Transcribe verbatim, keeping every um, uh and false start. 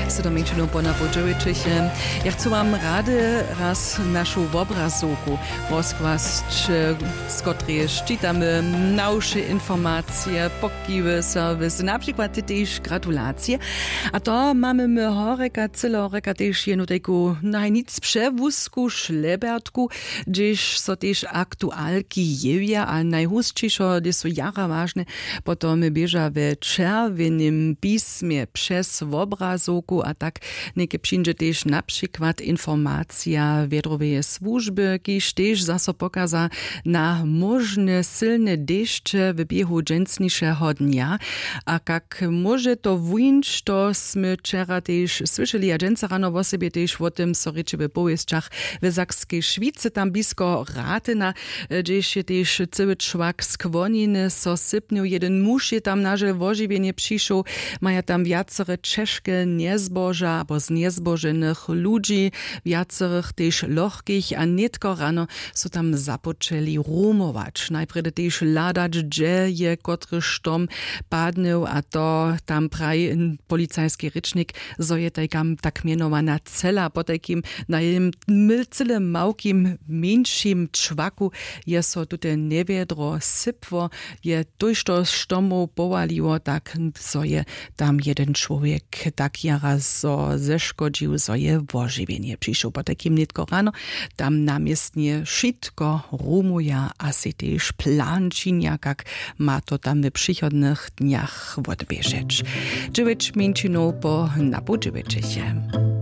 Sydom mjeńšinow po napoł dźewjećich. Ja chcu wam rady raz našu wobrazowku rozkłasć, z kotrejež čitamy mnawše informacije, pokiwy, serwis, na přikład tež gratulacije. A to mamy my horjeka, cyle horjeka tež jednu tajku najnic přewusku šlebertku, hdźež so tež aktualki jewja a najhusćišo, hdyž su jara wažne, potom běža we čerwjenym pismje přez wobrazowku a tak něke přińdźe tež na přikład informacija wjedroweje słužby, kiž tež zaso pokaza na móžne sylne dešće w běhu dźensnišeho dnja. A kak móže to wuńć, to smy wčera tež słyšeli a dźensa rano wosebje tež wo tym so rěči w powěsćach. W Sakskej Šwicy tam blisko Ratyna, hdźež je tež cyły čłak skłoniny so sypnył. Jedyn muž je tam nažel wožiwjenje přišoł. Maja tam wjacore ćežke njezboža abo znjezboženych ludźi, wjacorych tež lochkich, a nětko rano su tam započeli rumować, najprjedy tež hladać, hdźe je kotryž štom padnył, a to tam praji policajski rěčnik, zo je tajka tak mjenowana cela potajkim na jednym cyle małkim mjeńšim čwaku je so tute njewjedro sypło, je tójšto štomow powaliło, tak zo je tam jedyn čłowjek tak jara zo zeškodźił, zo je wožiwjenje přišoł. Potajkim nětko rano tam na městnje wšitko rumuja a sej tež plan činja, kak ma to tam w přichodnych dnjach wotběžeć. Dźewjeć mjeńšinow po napoł dźewjećich.